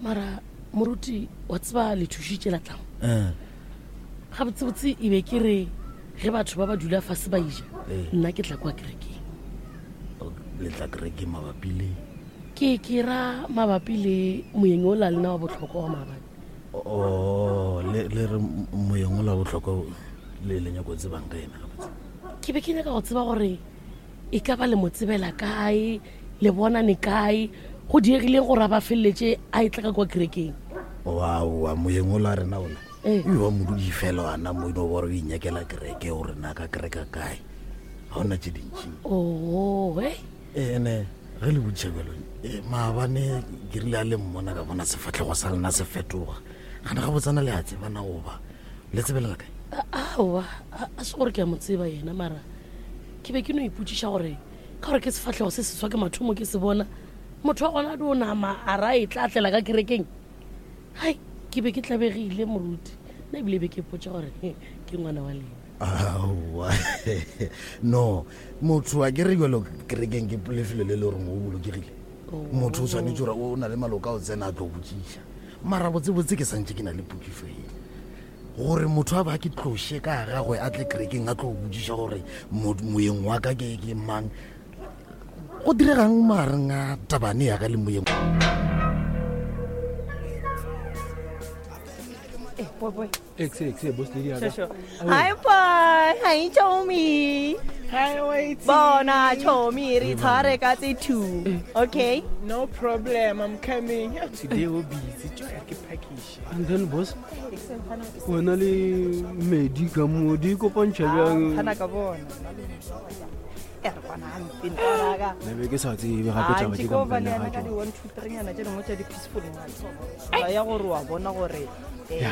Mara moruti wa tseba le thušitše la tlamo. Eh. Gabotsebotse e be ke re ge batho ba ba dula fase ba ija, Eh. nna ke tla kwa kerekeng. Le tla kerekeng mabapi le? Ke ke ra mabapi le moyeng o la lena wa bohlokwa wa maabane. Oh, le le re moyeng o la bohlokwa le le nyako tsebang ka yena gabotse? Ke be ke nyaka go tseba gore e ka ba le mo tsebela kae, le bonane kae, go diegileng gore a ba feleletše a etla ka kwa kerekeng. Oaowa, moyeng ola rena ola Ee. e ba modudi fela ana mo ino gore o inyakela kereke o rena ka kereka kae, ga ona tše dintši. Oo, e Ene ge le botšiša bjalo, e, maabane ke rile a le mmona ka bona sefahlego sa lena se fetoga. Gana ga botsana le a tsebana goba le tsebelela kae? Aowa, a se gore ke a mo tseba yena, mara ke be ke no ipotšiša gore ka gore ke sefahlego se seswa ke mathomo ke se bona, motho wa gona a dio nama a ra e tla tlela ka kerekeng. Hai, ke be ke tlabegile moruti, nna ebile be ke ipotša gore ke ngwana wa lena. Aowa, no, motho a ke re bjalo kerekeng ke lefelo le le goreng o bolokegile. Motho o swanetše gore o na le maloka a o tsena a tlo botšiša. Mara botsebotse ke santše ke na le potšišo ye, gore motho a ba ke tloše ka gagwe a tle kerekeng a tlo botšiša gore moyeng wa ka ke ke mang. Go diregang magareng a tabane ya ka le moyeng? Eh, boy, boy. Exe, exe, boss lady ya ka. Sure, sure. Hi, boy. Hi, Chomi. Hi, wait. Bona, Chomi, re tshware ka tse two. Okay? No problem, I'm coming. Yeah, today we're busy. Joy, ke package. And then, boss, wena le medi ka mo di kopantšha bjang? Phana ka bona. E re kwana hampe ntwanaka. Ne be ke sa tsebe gape taba tše ka ko ba moka le ga yena ka tšona. di 1 2 3 nyana tše dingwe tša di peaceful ngwana. Ya gore wa bona gore eh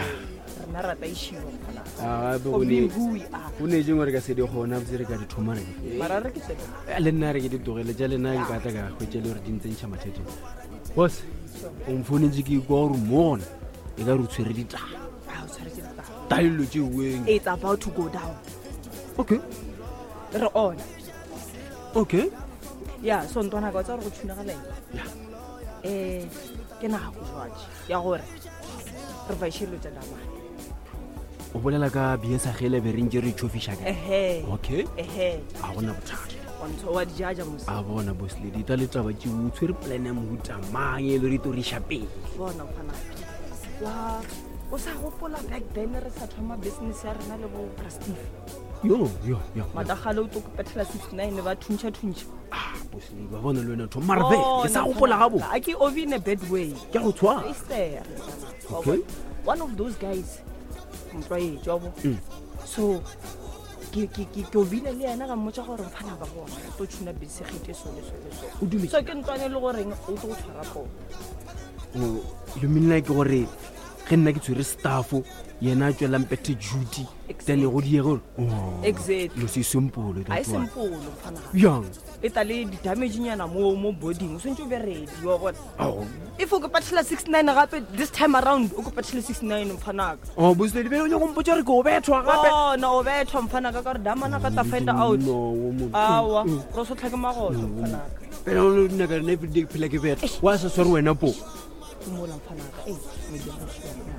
rena ra taišiwa mfana. Ah, gape For go being ne- who we are. go ne tše ngwe re ka se di kgona botse re ka di thoma re di Mara re ke tsebe. Eh, le nna re ke di tlogele tša lena nka tla ka hwetša le gore di ntse ntšha mathateng. Boss, o mfounetše ke ikwa gore mo gona e ka re o tshwere ditaba. Ah, o tshwaretse ditaba. Taelo tše weng. It's about to go down. Okay. Re on. Okay. Ya, so ntwana ka o tsaya gore go tshunagala eng? Ya. Eh, ke nako jwatše ya gore re vaishe dilo tša damane. O bolela ka BS a gele be re ntše re tšhofiša ka. Ehe. Okay. Ehe. A gona bothata. Wa ntho wa di jaja mos. A bona boss lady, ta le taba tše o tshwere plan ya mohuta mang e le re tlo re iša pele. Bona mfana. Wa o sa gopola back then re sa thoma business ya rena le bo Bra Steve. Yo, yo, yo. Matagale o tlo kopethela 69 ba thuntšha thuntšha. Ah, boss lady, ba bona le wena tho. Mara be, ke sa gopola gabo. A ke ovi in a bad way. Ke a go tshwara. Sister. Okay. One of those guys. Mtlwaetši wa bo. Mm. So ke ke ke ke obile le yena ka mmotsa gore mfana ba bona re tlo tshuna bese gete so le so le so. O dumetse? So ke ntlwane le goreng o tlo go tshwara poo. Oh, you mean like gore ge nna ke tshwere staffo yena a tswelang pethe duty then go diege gore oh, Exactly. no se simple A e that one. simple mfana. Bjang? E tla le di-damage nyana mo mo boarding o swantse o be ready wa bona. Ao. If o kopathela 69 gape this time around o kopathele 69 mfanaka. Oh, boss lady, bjale o nyaka go mpotša gore ke o bethwa gape? Bona o bethwa mfanaka ka gore damana ka tla find out. No, wo mo- Aowa, Mm, mm. ro so tlhake magoto mfanaka. Pele o nna ka rena everyday ke phela ke betha. Wa sa sware wena po. Ke mola mfanaka. Ei, media go tšhela.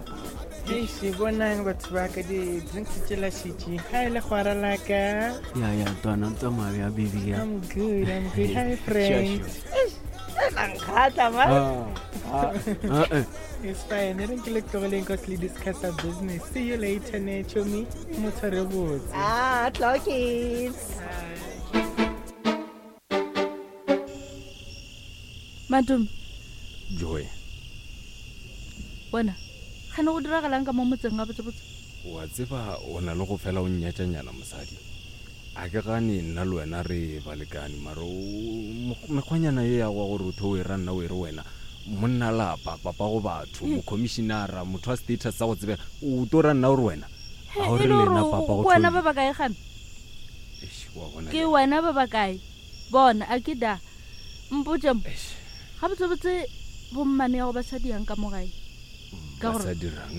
Eish, bonang batho ba ka di-drinks tše la šetše. Hi, legwara la ka. Ya, ya, twana, tsamaya ya baby ya. I'm good, I'm good. Hi, friend. Sure, sure. Nkgatla, man. Ah, ah, ah, eh. It's fine. E reng ke le tlogeleng 'cause le discuss our business. See you later, ne, chomi. Mo tshware botse. Ah, clockies. Madume. Joy. Bona, gane go diragalang ka mo motseng ga botsebotse? Wa tseba o na le go fela o nnyatšanyana mosadi. A ke gane nna le wena re balekane, mara o mekgwanyana ye ya go gore o tho o e ra nna o e re wena monna lapa, papa go batho, Ee. mokhomišinara, motho wa status sa go tsebega, o to ra nna o re wena. He, A o e re le lena gore papa go ke wena thoi. ba ba kae gane? Eish, wa bona Ke bjale. wena ba ba kae? Bona, a ke da. Mpotše mo. Eish. Gabotsebotse bommane ya go ba sa diang ka mo gae? Ka Ba gore sa dirang?